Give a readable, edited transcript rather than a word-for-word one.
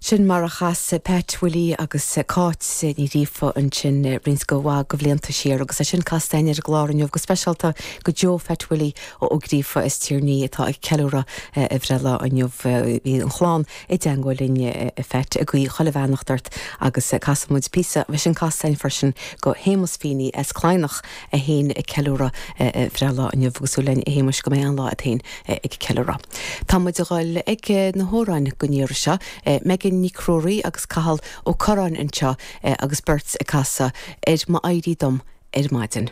Sin mar a chas Pat Willie agus Cáit Ní Ghríofa ansin roinnt go mhaith de bhlianta siar agus é sin casta againn ar an gclár inniu go speisialta go Joe Phat Willie Ó Gríofa as Tír an Fhia atá ag ceiliúradh a bhreithlá inniu. Bhí an chlann i dteangmháil linn a Phat ag guí chuile bheannacht ort agus casfaidh muid píosa dhe sin casta againn freisin go Shéamus Feeney as Cladhnach é féin ag ceiliúradh a bhreithlá inniu agus súil linn a Shéamuis go mbeidh an-lá agat féin ag ceiliúradh. Tá muid a dhul ag na hamhráin don iarraidh seo. Megan Nic Ruairí agus Cathal Ó Curráin anseo agus beirt ag casadh ar m'éirí dom ar maidin.